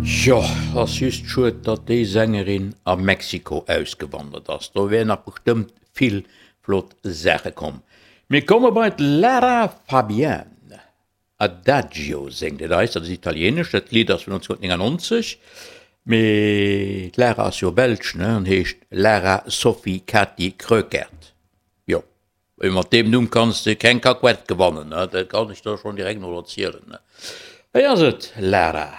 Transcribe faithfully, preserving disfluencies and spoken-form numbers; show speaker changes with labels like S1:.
S1: Jo, ass just schued, datt déi Sängerin a Mexiko ausgewandert ass. Do wären nach bestëmmt vill flott Saache komm. Mir komme bei d'Lara Fabian. Adagio séngt et eis, dat ass italienesch, dat Lidd ass vun neunzehnhundertneunundneunzeg. Mee d'Lara ass jo belsch, ne, an heescht Lara Sophie Katy Kroeckert. Jo, mat deem Numm kanns de keng Kakuett gewannen, ne, dat kann ech der schonn direkt mol erzielen, ne. Hei ass et, Lara.